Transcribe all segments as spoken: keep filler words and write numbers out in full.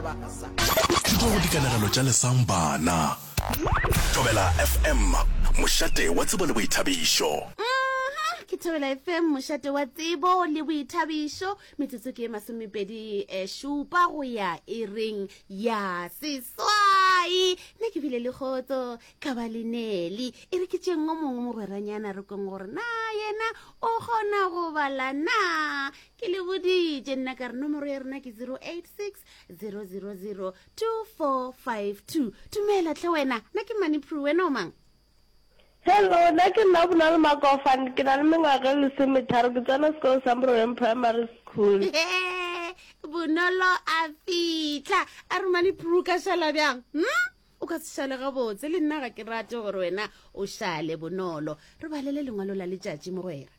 Thuto go dikanegelo tša Lesang Bana. Thobela F M, mošate wa tsebo le boithabišo. Mhm, ke Thobela F M, mošate wa tsebo le boithabišo. Metsotso ke e masomepedi eh, šupa go ya iring ya seswai. Nna ke bile le kgotso ka ba le Neli. E re ke tšeng o mongwe mogweranyana re kweng gore na yena o kgona go bala na. Ke le boditše nna ka re nomoro ya rena ke zero eight six zero zero zero two four five two. Dumela tlhe wena, nna ke Manipru, wena o mang? Hello, nna ke nna Bonolo Makofane, ke na le mengwaga e lesometharo, ke tsena sekolo sa Moroleng Primary School. Bonolo a fitlha a re Manipru ka šala bjang, hm? O ka se šale gabotse, le nna ga ke rate gore wena o šale. Bonolo, re balele lengwalo la letšatši, mogwera.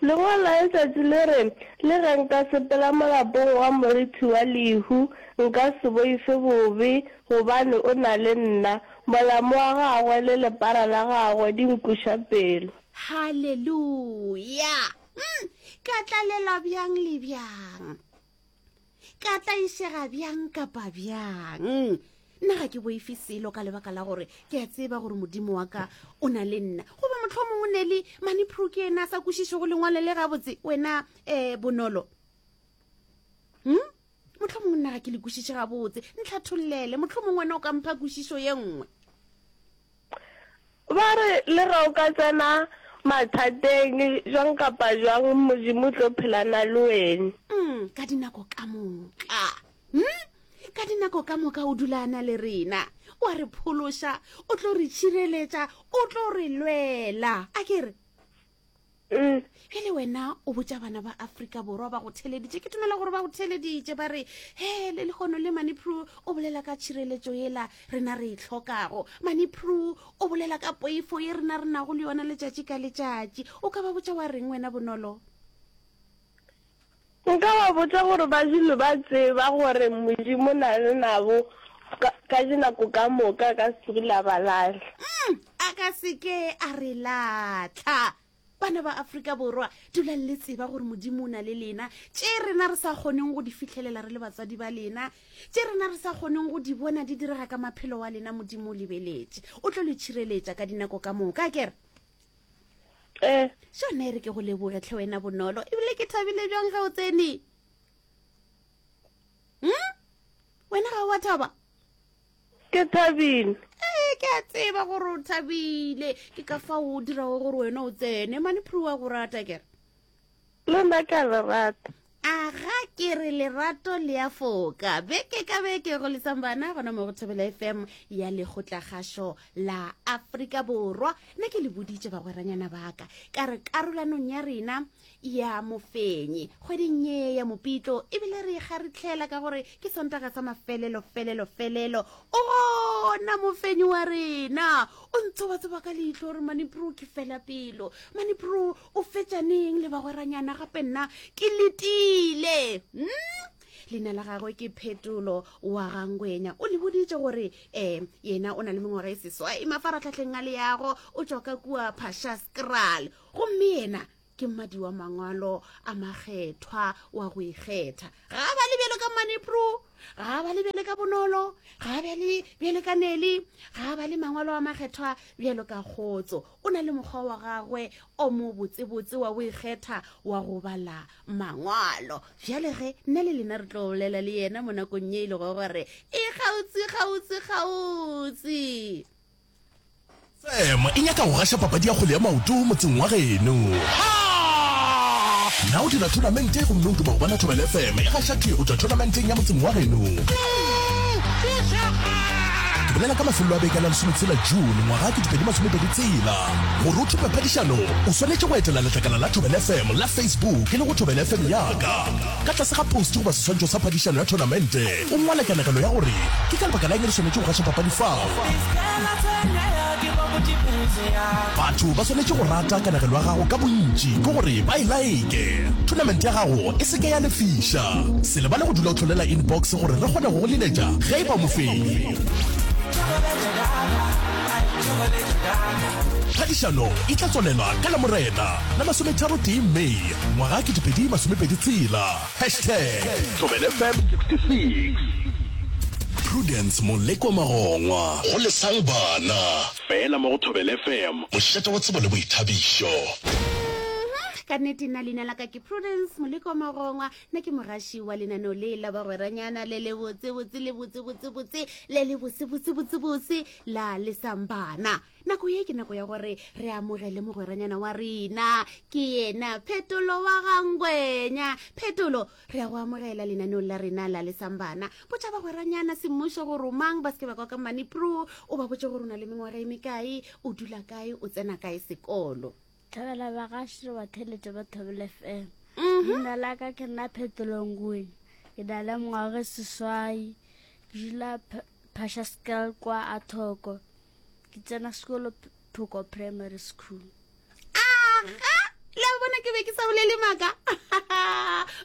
Lengwalo la letšatši le re, le ge nka sepela molapong wa morithi wa lehu, nka se boife bobe, gobane o na le nna. Molamo wa gagwe le lepara la gagwe di nkuša pelo. Halleluja! mm, ka tlalelwa bjang le bjang, ka tlaišega bjang kapa bjang, nna ga ke boife selo ka lebaka la gore ke a tseba gore Modimo wa ka o na le nna. Goba motlho mongwe ne le Manipro ke ena a sa kwešišego lengwalo le gabotse. Wena um Bonolo, hm motlho mongwe nna ga ke le kwešiše gabotse, ntlhathollele. Motlho mongwe wena o ka mpha kwešišo ye nngwe. Ba re le ge o ka tsena mathateng jwang kapa jwang, Modimo o tlo phelana le wena. mm, ka dinako ka moka, hmm? Ka dinako ka moka o dula a na le rena, o a re phološa, o tlo re tšhireletša, o tlo re lwela, a ke re? Mm. Bjale wena o botša bana ba Afrika Borwa ba go theleditše, ke tumela gore ba go theleditše, ba re he le lekgono le Manipro o bolela ka tšhireletšo yela rena re e tlhokago, Manipro o bolela ka poifo ye rena re nago le yona letšatši ka letšatši, o ka ba botša wa reng wena, Bonolo? Nka ba botša gore ba dule ba tseba gore Modimo na le nabo ka, ka dinako ka moka, ka se tsoge la ba lahla. mm, a ka seke a re latlha. Bana ba Afrika Borwa, dulang le tseba gore Modimo o na le lena. Tše rena re sa kgoneng go di fitlhelela re le batswadi ba lena, tše rena re sa kgoneng go di bona di direga ka maphelo wa lena, Modimo o lebeletše, o tlo le tšhireletša ka dinako ka moka, kere? Eh. Šona e re ke go leboge tlhe wena Bonolo, ebile ke thabile bjang ge o tsene. hmm? Wena ga wa thaba? Ke thabile. Ee, ke a tseba gore o thabile, ke ka fa o dirago gore wena o tsene. Manipro wa go rata, kere? Le nna ka le rata. Aga, ke re lerato le a foka. Beke ka beke go Lesambana gona mo go Thobela F M ya Lekgotlakgašo la Afrika Borwa. Nna ke le boditše bagweranyana baka ka re karolanong ya rena ya mofenyi kgweding ye ya Mopitlo, ebile re kgaritlhela ka gore ke Sontaga sa mafelelo felelo felelo, o gona mofenyi wa rena. O ntsobatsoba ka leihlo gore Manipro ke fela pelo, Manipro o fetšaneng le bagweranyana gape, nna ke letile. hmm? Leina la gagwe ke Phetolo wa Gangwenya. O le boditše gore um yena o na le mengwaga e seswai mafaratlhatlheng a leago, o tšwa ka kua Phashaskral, gomme yena ke mmadi wa mangwalo a makgethwa wa go ikgetha. Ga a ba le bjalo ka Manipro, ga a ba le bjale ka Bonolo, ga a bjale bjale ka Neli, ga a ba le mangwalo a makgethwa bjalo ka Kgotso. O na le mokgwa wa gagwe o mo botsebotse wa go ikgetha wa go bala mangwalo. Bjale ge nna le lena re tlo bolela le yena mo nakong ye e lego gore e kgautsi kgautsi kgautsi. F M e nyaka go gaša papadi ya kgwele ya maoto motseng wa geno. Na o dira tournamente gomme o duma go bona Thobela F M e gaša thwi go tšwa tournamenteng ya motseng wa geno? Ke bolela ka mafelelo a beke la lesometshela June ngwaga ke dipedi masomepedi tshela. Gore o thope phadišano, o swanetše go etela letlakala la Thobela F M la Facebook e le go Thobela F M yaka. Ka tlase ga post goba seswantšho sa phadišano ya tournamente, o ngwale kanegelo ya gore ke ka lebaka la eng re swanetše go gaša papadi fao. Batho ba swanetše go rata kanegelo ya gago ka bontši, ke gore ba e like. Tournament ya gago e seke ya lefiša. Se lebale go dula o tlholela inbox gore re kgone go go leletša ge e ba mofenyi. Phadišano e tla tswalelwa ka Lamorena la masometharo tee May ngwaga ke dipedi masomepedi tshela. Hashtag Thobela F M sixty-six. Prudence Moleko Magongwa go Lesang Bana fela mo go Thobela F M, mošate wa tsebo le boithabišo. Ka nnete, nna leina la ka ke Prudence Moleko Magongwa, nna ke mogaši wa lenaneo le la bagweranyana le le botsebotse le botsebotsebotse le le bosebotsebotsebose la Lesang Bana. Nako ye ke nako ya gore re amogele mogweranyana wa rena, ke yena Phetolo wa Gangwenya. Phetolo, re ya go amogela lenaneong la rena la Lesang Bana. Botša bagweranyana semmušo gore o mang, ba seke ba kwa ka Manipro. O ba botse gore o na le mengwaga e mekae, o dula kae, o tsena kae sekolo. Thabela bagaši le batheletše ba Thobela F M. Mhm. Leina la ka ke nna Phetolongwenya, ke na le mengwaga e seswai, ke dula Phashaskal kwa Athoko, ke tsena sekolo Phoko Primary School. Aga, le a bona, ke be ke sa bolele maaka.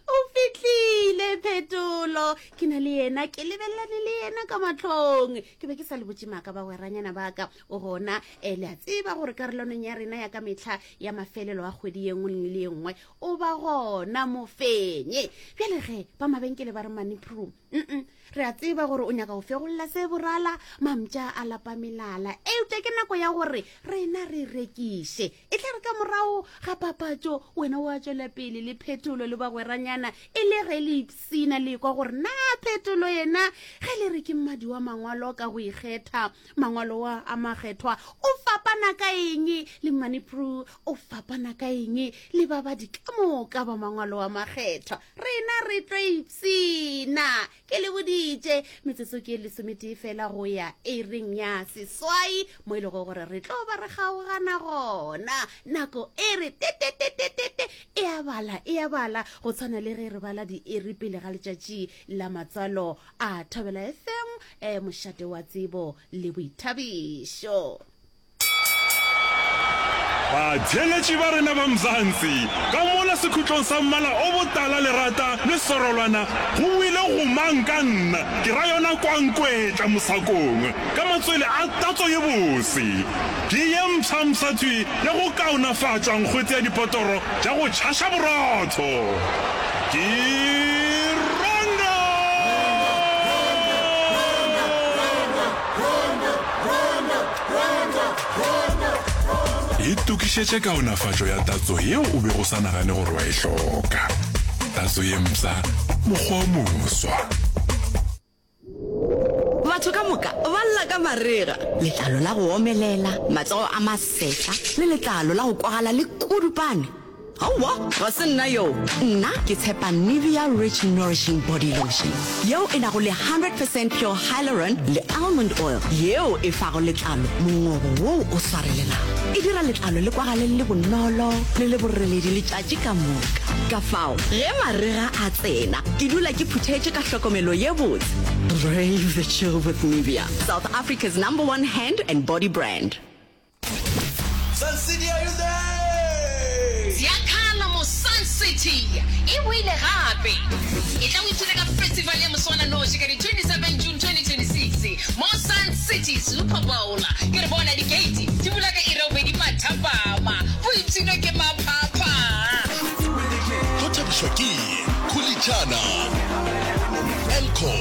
O fitlhile Phetolo, ke na le yena, ke lebelelane le yena ka matlhong. Ke be ke sa le botse maaka, bagweranyana baka. O gona um le a tseba gore karolwaneng ya rena ya ka metlha ya mafelelo a kgwedi ye nngwe le ye nngwe o ba gona mofenye. Bjale ge ba mabenkele ba re Manipro, mm re a tseba gore o nyaka go fegolola se borala mamtša a lapa melala, eupša ke nako ya gore rena re rekiše. E tla re ka morago ga papatšo wena o a tswela pele le Phetolo le bagweranyana, e le ge le ipsina le kwa gore na Phetolo yena ge le re ke mmadi wa mangwalo ka go ikgetha, mangwalo wa a makgethwa, o fapana ka eng le Manipro, o fapana ka eng le babadi ka moka ba mangwalo a makgethwa. Rena re tlo ipsina. Ke le boditše, metsotso ke lesometee fela go ya ering ya seswai, mo e lego gore re tlo ba re kgaogana gona. Nako e re tetetetetete, e a bala, e a bala go tshwana le ge re bala diiri pele ga letšatši la matswalo a Thobela F M, um mošate wa tsebo le boithabišo. Batheeletši ba rena ba Mzansi, ka mola sekhutlong sa mmala o botala lerata le serolwana go boile go mang ka nna, ke ra yona kwankwetla mosakong ka matswele a tatso ye bose. Ke ye mpshampsha thwi ya go kaonafatša nkgwete ya dipotoro tša go tšhaša borotho. Ke Rondo! Itokišetše kaonafatšo ya tatso yeo o bego o sa nagane gore wa e hloka. Tatso ye mpsha, mokgwa o moswa. Batho ka moka ba lla ka marega, letlalo la go omelela, matsogo a masetla le letlalo la go kwagala le kudupane. Aowa, ga se nna yo. Nna ke tshepa Nivea Rich Nourishing Body Lotion yeo e nago le one hundred percent pure hyaluron le almond oil yeo e fago letlalo mongobo woo o swarelelago. E dira letlalo le kwagale le bonolo le le boreledi letšatši ka moka. Ka fao ge marega a tsena, ke dula ke phuthetše ka hlokomelo ye botse. Brave the chill with Nivea, South Africa's number one hand and body brand. Sun City, are you there? Ziyakhala mo Sun City, e boile gape. E tla o ipshine ka festival ya moswananoši ka di twenty-seven June twenty twenty-six mo Sun City Super Bowl. Ke re bona di-gate di bula ka iri ya bobedi mathapama, boipshino ke maphapha. Tlo thabišwa ke Khulichana, Elco,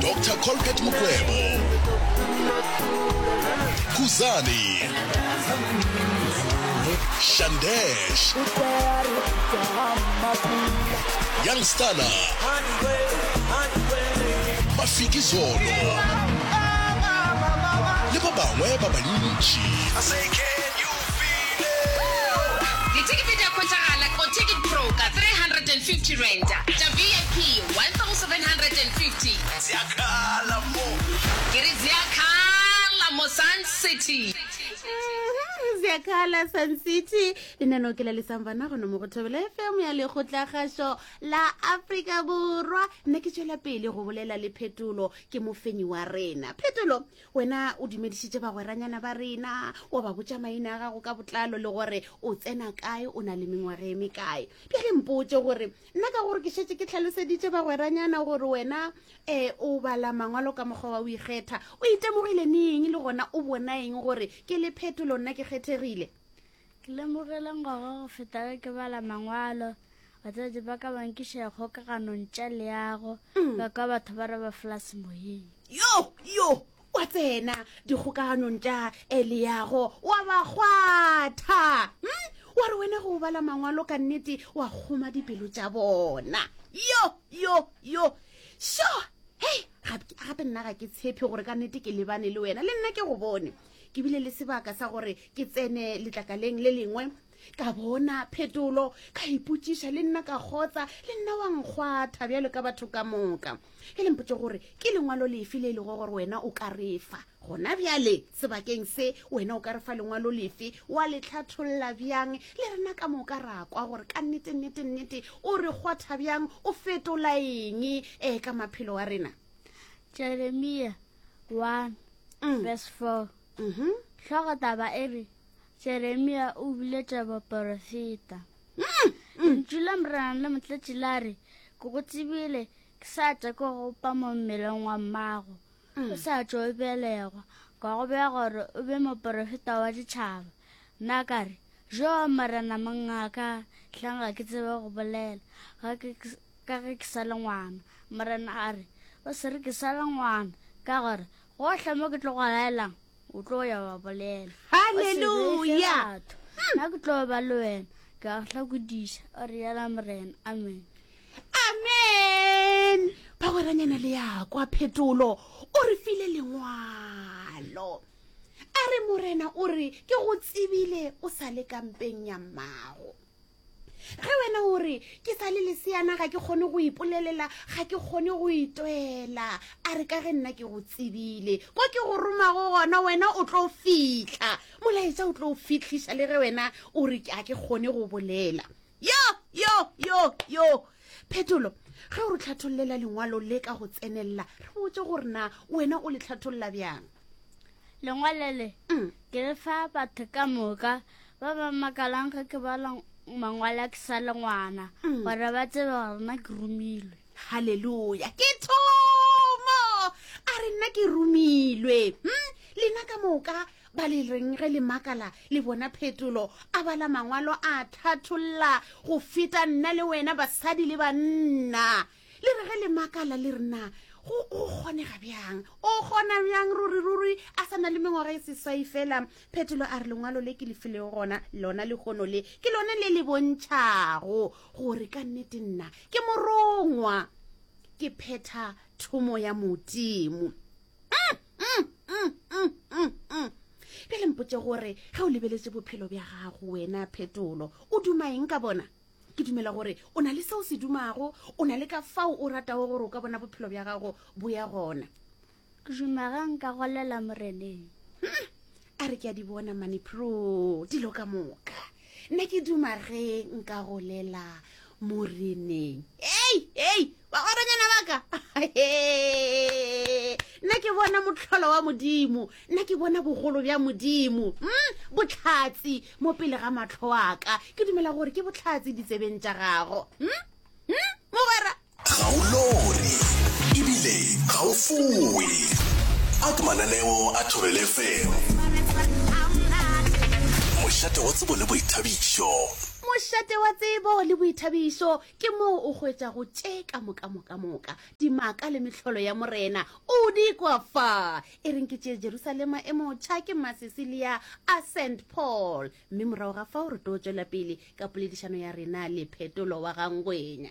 Doctor Colbert Mokwebo, Kuzani, Shandesh, Youngstana, Mafikizolo le ba bangwe ba bantši. I say, can you feel it? Ditekete di a hwetšagala go Ticket Pro ka three hundred and fifty rand, tša V I P one thousand seven hundred and fifty. Ziyakhala mo. Ke re ziyakhala mo Sun City. Ziyakhala Sun City. Lenaneo ke la Lesang Bana gona mo go Thobela F M ya Lekgotlakgašo la Afrika Borwa. Nna ke tswela pele go bolela le Phetolo, ke mofenyi wa rena. Phetolo, wena o dumedišitše bagweranyana ba rena, wa ba botša maina a gago ka botlalo le gore o tsena kae, o na le mengwaga e mekae. Bjale mpotse gore nna ka gore ke šetše ke tlhaloseditše bagweranyana gore wena um o bala mangwalo ka mokgwa wa o ikgetha, o itemogile neng le gona o bona eng gore ke le Phetolo nna ke kgethegile? Ke lemogile ngwaga go feta ge ke bala mangwalo Batswadi ba ka ba nkiša dikgokaganong tša leago, ba kwa batho ba re ba flase moyeng. Yo, yo, wa tsena dikgokaganong tša leago, wa ba kgwatha. Hm? Wa re wena ge o bala mangwalo ka nnete wa kgoma dipelo tša bona. Yo, yo, yo. Sho! Hei, gape, gape nna ga ke tshepe gore ka nnete ke lebane le wena. Le nna ke go bone. Ke bile le sebaka sa gore ke tsene letlakaleng le lengwe, ka bona phetolo, ka ipotšiša le nna ka kgotsa, le nna wa nkgwatha bjalo ka batho ka moka. E le mpotše gore ke lengwalo lefe le e lego gore wena o ka re fa gona bjale sebakeng se, wena o ka re fa lengwalo lefe, wa le hlatholla bjang, le rena ka moka ra kwa gore ka nnete, nnete, nnete o re kgwatha bjang, o fetola eng eh, ka maphelo a rena. Jeremia one Mm. verse four. Mhm. Hlogo taba e re Jeremia o biletša baporofeta. Mm, Lentšu la Morena le motletše la re, ke go tsebile ke sa tšwa ke go pa mo mmeleng wa mmago, o sa tšo o belegwa, ka go bea gore o be moporofeta wa ditšhaba. Nna ka re, jo Morena mongaka, hlang ga ke tsebe go bolela, ga ke, ka ge ke sa le ngwana. Morena a re, o se re ke sa le ngwana, ka gore gohle mo ke tlo go laelang, o tlo ya wa bolela. Hallelujah. Nna ke tlo ba le wena, ke a go hlakodiša, o rialo Morena. Amen. Amen. Bagweranyana le ya kwa phetolo, o re file lengwalo. A re Morena o re ke go tsebile o sa le kampeng ya mmago. Ge wena o re ke sa le leseana ga ke kgone go ipolelela, ga ke kgone go itwela, a re ka ge nna ke go tsebile, ko ke go romago gona wena o tlo fihla, molaetša o tlo fihliša le ge wena o re ga ke kgone go bolela. Yo, yo, yo, yo. Phetolo, ge o re hlathollela lengwalo le ka go tsenella, re botse gore na wena o le hlatholla bjang. Lengwalo le Mm. ke le fa batho ka moka ba ba makalang ge ke bala mangwalo a ke sa le ngwana, Mm. gore ba tsebe gore nna ke romilwe. Hallelujah. Ke thomo. A re nna ke romilwe. Hm? Lena ka moka ba le reng ge le makala le bona phetolo, a bala mangwalo a thatholla go feta nna le wena basadi le banna. Le re ge le makala le re na go, go kgonega bjang? O kgona bjang ruri ruri a sa na le mengwaga e seswai fela? Phetolo a re lengwalo le ke le filego gona lona lehono le ke lona le le bontšhago gore ka nnete nna ke morongwa, ke phetha thomo ya Modimo. Mm, mm, mm, mm, mm, mm. Bjale mpotše gore ge o lebeletše bophelo bja gago wena Phetolo, o duma eng ka bona? Ke dumela gore o na le seo se dumago, o na le ka fao o ratago gore o ka bona bophelo bja gago bo ya gona. Ke duma ge nka golela Moreneng. Hmm. A re ke a di bona mane pro dilo ka moka. Nna ke duma ge nka golela Moreneng. Ei, ei, bagweranyana ba ka. Nna ke bona mohlolo wa Modimo, nna ke bona bogolo bja Modimo. Hmm? Bohlatse mo pele ga mahlo a ka. Ke dumela gore ke bohlatse ditsebeng tša gago. Hmm? Hmm? Mogwera. Ga o lore, ebile ga o fowe. A ke mananeo a Thobela F M. Mošate wa tsebo le boithabišo. Mošate wa tsebo le boithabišo ke moo o hwetšago tše ka moka moka moka, dimaka le mehlolo ya Morena o di kwa fa. E reng ke tše Jerusalema e motšha ke Masesilia a Saint Paul, mme morago ga fao re tlo tšwela pele ka poledišano ya rena le Phetolo wa Gangwenya.